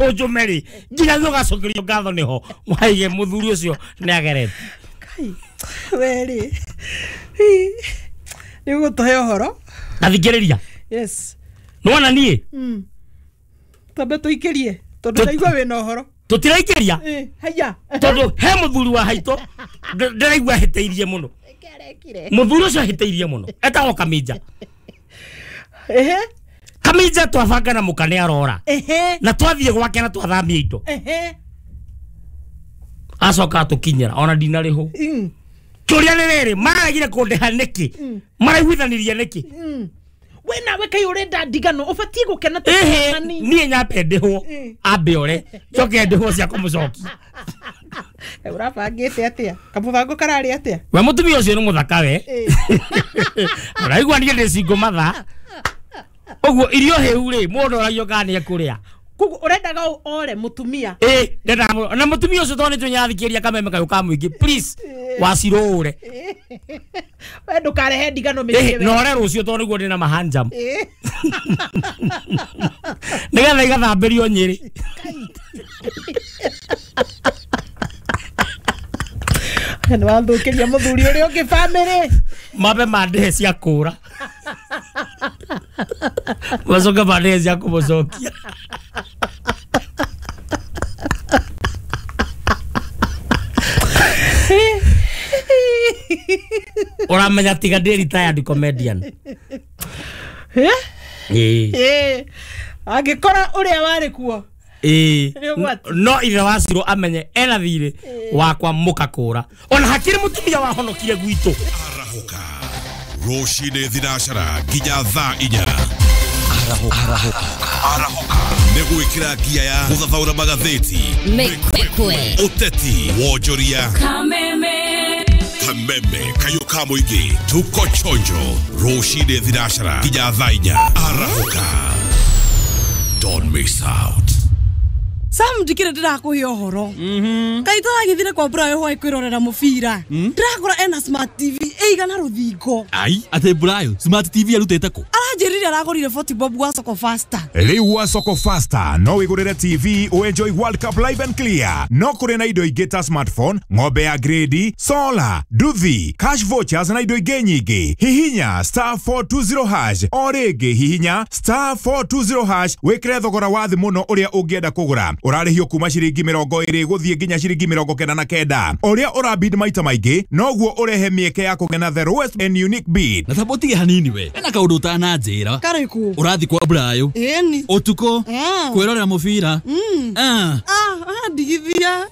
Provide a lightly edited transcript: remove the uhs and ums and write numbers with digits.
Ũnjũme rĩ nginya ũgacokerio ngatho nĩho waige mũthuri ũcio nĩ agerete. Kai we rĩ nĩ ũgũtũhe ũhoro. Tathikĩrĩria. Yes. Nĩwona niĩ Twambe tũikĩrie tondũ ndaigua wĩna ũhoro. Tũtiraikĩria. Haya. Tondũ he mũthuri wa haitũ ndĩraigua ahĩtĩirie mũno. Mũthuri ũcio ahĩtĩirie mũno etagwo Kaminja. Ehe. Kaminja twabanga na mũka nĩ arora. Ehe. Na twathiĩ gwake na twathamia indo. Ehe. Acoka atũkinyĩra ona ndinarĩhwo. Kĩũria nĩ rĩrĩ mararegire kũndĩha nĩkĩ? Maraiguithanirie nĩkĩ? We nawe kai ũrenda ndigano ũbatiĩ gũkena Ĩhĩ, niĩ nyambe ndĩhwo ambe ore njoke ndĩhwo cia kũmũcokia. Ũrabangĩte atĩa? Kamũbango kararĩ atĩa? We mũtumia ũcio nĩ mũthaka we. Ũraigua niĩ ndĩ single mother. Ũguo irio hĩu rĩ mũndũ oragio kana nĩ ekũrĩa. Koguo ũrendaga ore mũtumia. Ĩ ndendaga na mũtumia ũcio tondũ nĩtũnyathikĩria kameme kayũ ka mũingĩ please wacirũre. We ndũkarehe ndigano mĩciĩ we. Na ore rũciũ tondũ nĩguo ndĩna mahanjam. Nĩgetha igathambĩrio Nyĩrĩ. Nĩ wathũkĩria mũthuri ũrĩa ũngĩ bamĩrĩ. Mambe mandĩhe cia kũra. Macoke mandĩhe cia kũmũcokia. Ũramenya tiga ndĩ retired comedian. Ĩ. Angĩkora ũrĩa warĩ kuo. Ĩ. No ithe wa Ciro amenye ena thirĩ wakwa mũkakũra. Ona hakĩrĩ mũtumia wahonokire gwitũ. Arahũka rũcinĩ thinacara nginya thaa 4. Arahũka nĩ gwĩkĩra ngia ya gũthathaũra magathĩti, Mĩkwekwe, ũteti, wonjoria, Kameme, kameme kayũ ka mũingĩ, tuko chonjo rũcinĩ thinacara nginya thaa 4. Arahũka, don't miss out. Sam ndikire ndirakuhe ũhoro. Kai tũragĩthire kwa Brayo hwaĩ kwĩrorera mũbira. Ndĩrakora ena smart TV ĩigana rũthingo. Ai, atĩ Brayo smart TV arutĩte kũ? Aranjĩrire aragũrire 40 bob gwa Soko Faster. Rĩu gwa Soko Faster no wĩgũrĩre TV ũenjoy World Cup live and clear. No kũrĩ na indo ingĩ ta smartphone, ng'ombe ya grade, solar, nduthi, cash vouchers na indo ingĩ nyingĩ. Hihinya *420# o rĩngĩ hihinya *420# wĩkĩre thogora wa thĩ mũno ũrĩa ũngĩenda kũgũra. Ũrarĩhio kuma ciringi 20 gũthiĩ nginya ciringi 99. Ũrĩa ũrabid maita maingĩ noguo ũrehe mĩeke ya kũgĩa na the lowest and unique bid. Na tabo tige hanini we. Ena kaũndũ ũtananjĩra. Karĩkũ? Ũrathiĩ kwa Brayo. Ĩni. Ũtukũ. Kwĩrorera mũbira. Ndigithia.